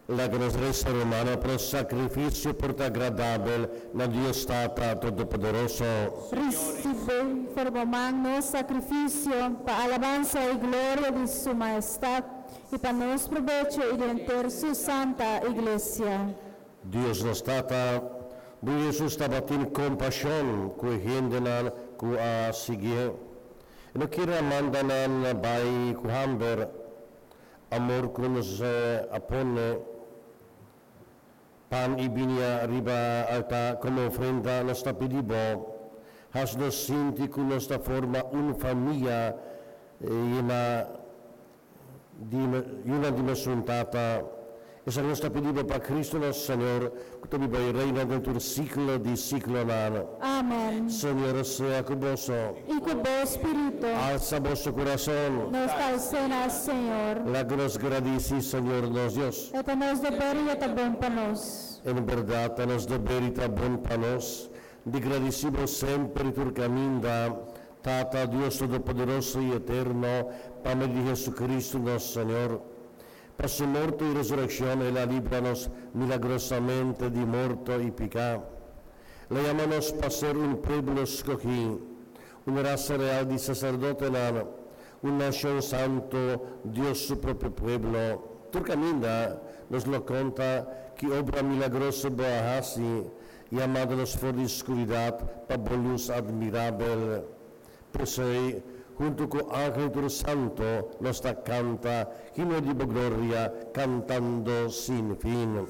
Laga nos resa, rumannan, pa nos sakrifisio por ta agradabel na Dios Tata Todopoderoso. Risibí for di bo man nos sakrifisio pa alabansa i gloria di Su Mahestat i pa nos probecho i di henter Su Santa Iglesia. Dios nos Tata, Bo Hesus tabatin kompashon ku e hendenan ku a siguié. E no kier a manda nan bai ku hamber. Amor ku nos a pone pan i biña riba altá komo ofrenda, nos ta pidi Bo, has nos sinti ku nos ta forma un famia yena di yunan di mesun Tata. Esaki nos ta pidi Bo pa Cristo nos Señor, ku ta biba i reina den tur siglo di siglonan. Amen. Señor sea ku boso. I ku bo spiritu. Alsa boso kurason. Nos ta als'é na Señor. Laga nos gradisí Señor nos Dios. E ta nos deber i e ta bon pa nos. En bèrdat ta nos deber i ta bon pa nos di gradisí Bo semper i tur kaminda, Tata, Dios Todopoderoso i Eterno, pa medio di Jesucristo nos Señor. Pa su morto i resurekshon el a libra nos milagrosamente di morto i piká. El a yama nos pa ser un pueblo skogí, un rasa real di saserdotenan, un nashon santu, Dios su propio pueblo. Tur kaminda nos lo konta ki obra milagroso bo a hasi, yamando nos for di skuridat pa bo lus admirabel. P'esei, huntu ku angel tur santu, nos ta kanta himno di bo gloria, kantando sin fin.